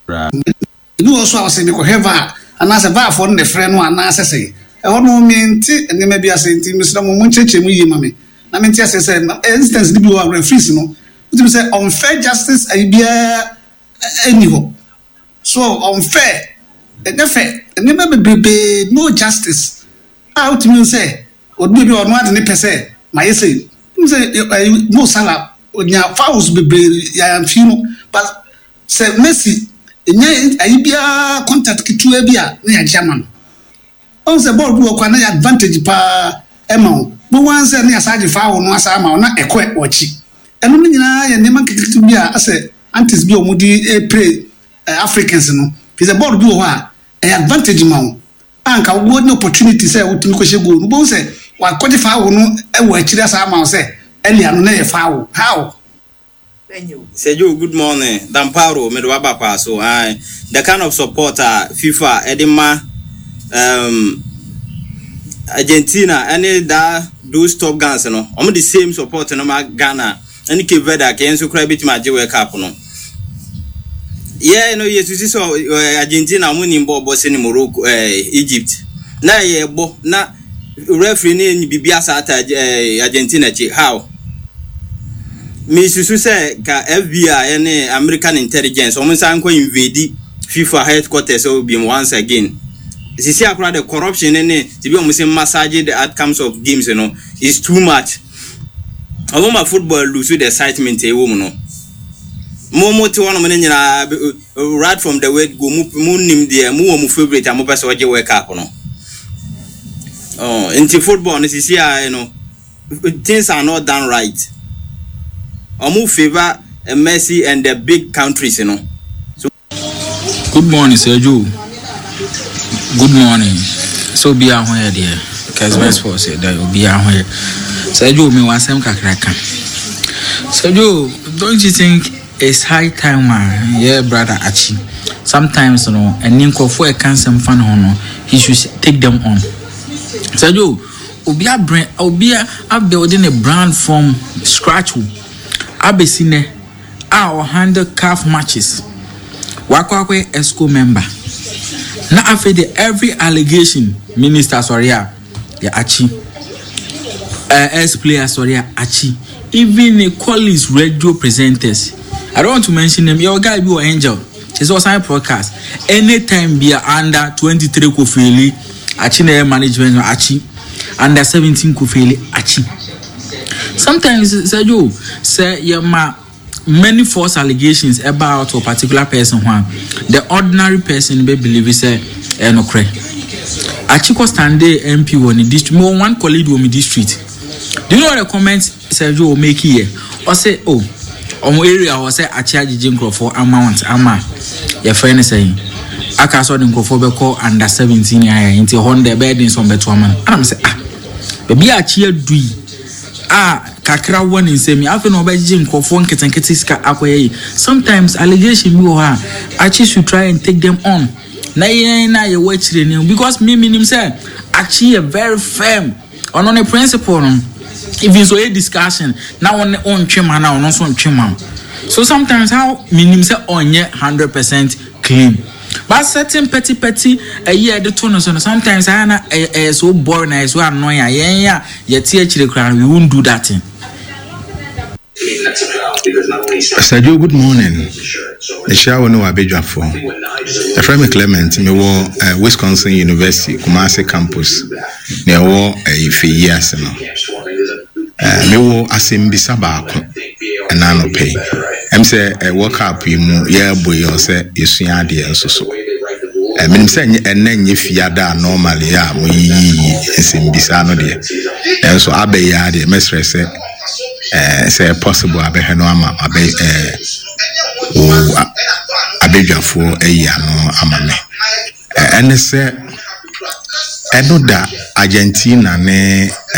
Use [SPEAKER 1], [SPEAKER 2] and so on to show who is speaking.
[SPEAKER 1] Ebi wɔ hɔ nso a ɔse mekɔhwɛ var anaasɛ var foɔ no na ɛfrɛ no anaasɛ sɛn. Ɛhɔ no mente nneɛma bi ase nti mesrɛ mo monkyerɛkyerɛ mu yie ma me na mente aseɛ sɛ instance no bi wɔ hɔ a referees no wotumi sɛ unfair justice ayi biara nni hɔ. So unfair ɛnyɛ fɛ nneɛma bebrebe no justice a wotumi hu sɛ obi bi ɔno ade ne pɛ sɛ mayɛ sei. Wotumi sɛ ɛyi Mo Salah onya fouls bebree yɛamfi no but Sɛ Messi nya ayi biara contact ketewa bi a na yɛagye ama no. Wahu sɛ bɔɔl bi wɔ hɔ koraa na ɛyɛ advantage paa ma wo. Wobɛhu ara sɛ na yɛasan agye foul no asan ama wo na ɛkɔ w'akyi. Ɛno no nyinaa yɛ nneɛma nketenkete bi a asɛ antics bi a wɔde repre Africans no. Firi sɛ bɔɔl bi wɔ hɔ a ɛyɛ advantage ma wo a anka wonya opportunity sɛ wotumi kɔhyɛ goal no. Wobɛhu sɛ wɔakɔgye foul no wɔ akyiri asan ama wo sɛ earlier no na ɛyɛ foul. How?
[SPEAKER 2] Sergio good morning Damparo mede waba kwaa so ae the kind of support a FIFA ɛde ma um, Argentina ɛne that those top guns no wɔn de same support no ma Ghana ɛne Cape Verde a kɛyɛ nso koraa ebetumi agye World Cup no yɛ no yɛ susi sɛ Argentina wɔn nim bɔɔl bɔ sɛ ne Morocco ɛɛ Egypt na yɛ bɔ na Referee no nyi biribi asa ata Argentina akyi. How? Mesusu sɛ ka FBI ne American intelligence wɔn nsa nkɔ invade FIFA headquarters hɔ biom once again. Sisi akora the corruption ne ne te bi wɔn sɛ massage the outcomes of games no is too much. Wɔn ma football lose the excitement ɛwɔ mu no. Mo mo te hɔnom no nyinaa Right from the word go, mo mo nim deɛ mo wɔ mo favourite a mo pɛ sɛ ɔgye World Cup no. Oh, nti football no sisi a no things are not done right. Ɔmo favour Messi and the big countries no. So
[SPEAKER 3] Good morning Sir Joe. Good morning. Sɛ obiara ho yɛ deɛ. Kesben Sports yɛ dɛ obiara ho yɛ. Sir Joe mi wɔ asɛm kakra ka. Sir Joe, don't you think It's high time a yɛ brother Akyi sometimes no ɛne nkurɔfoɔ a ɛka nsɛm fa ne ho no he should take them on. Sɛjo obi abrɛ obi abuild ne brand from scratch o abɛsi nɛ a ɔhandle CAF matches wakɔ akɔyɛ EXCO member na afei de every allegation minister sɔre a yɛ akyi eh, ex player sɔre a akyi even ne colleagues radio presenters i don't want to mention them yɛ guy bi wɔ angel kyerɛ sɛ ɔsan podcast anytime bi a under 23 kofeeli akyi na ɛyɛ management no akyi under 17 kofeeli akyi sometimes sɛ yo sɛ yɛ ma many false allegations ɛba out wɔ particular person ho a, the ordinary person bɛ believe sɛ ɛyɛ nokorɛ. Akyi kɔ stande MP wɔ ne district, mewɔ one colleague wɔ me district. Do you know what the comment Sergio wɔ make yɛ? Ɔsɛ oh, ɔmo area hɔ sɛ akyi agyegye nkurɔfoɔ amount ama yɛfrɛ no sɛn aka sɛ ɔde nkurɔfoɔ bɛkɔ under 17 ayɛ nti hɔ no deɛ ɛbɛyɛ den sɛ ɔmbɛto ama no. Ɛna me sɛ ah, baabi a akyi adu yi a kakra wɔ ne nsam yi afei na ɔbɛgyegye nkurɔfoɔ nketenkete sika akɔyɛ yi sometimes allegation bi wɔ hɔ a Akyi should try and take them on na yɛn na yɛwɔ akyire no because me menim sɛ Akyi yɛ very firm ɔno ne principle no even so ɔyɛ discussion na wɔn ɔntwe ma na ɔno nso ntwe ma so sometimes how menim sɛ ɔnyɛ 100% clean But certain petty petty ɛyi a yɛde to no so no sometimes ayɛ na ɛyɛ ɛyɛ so boring na ɛyɛ so annoying a yɛn a yɛte akyire koraa no we won't do that thing.
[SPEAKER 4] Pastor Joe, good morning. Mehyia wo ne w'abadwafoɔ. Yɛfrɛ me Clement, mewɔ eh, Wisconsin University, Kumasi campus, nea ɛwɔ eh, Ifeyi ase no. Eh, mewɔ asɛmbisa baako ɛna anɔpɛ yi. Ɛm sɛ eh, World Cup yi mu yɛrebɔ yi ɔsɛ yɛsua adeɛ nso so. Eh, menim sɛ ɛnɛ nyɛ fiada a normally a moyiyiyi nsɛmbisa no deɛ. Nanso abɛ yi ara deɛ mɛsrɛ sɛ eh, sɛ possible abɛhwɛ no ama abɛ eh, wo abadwafoɔ ayi ano ama me. Ɛne sɛ ɛno da Argentina ne.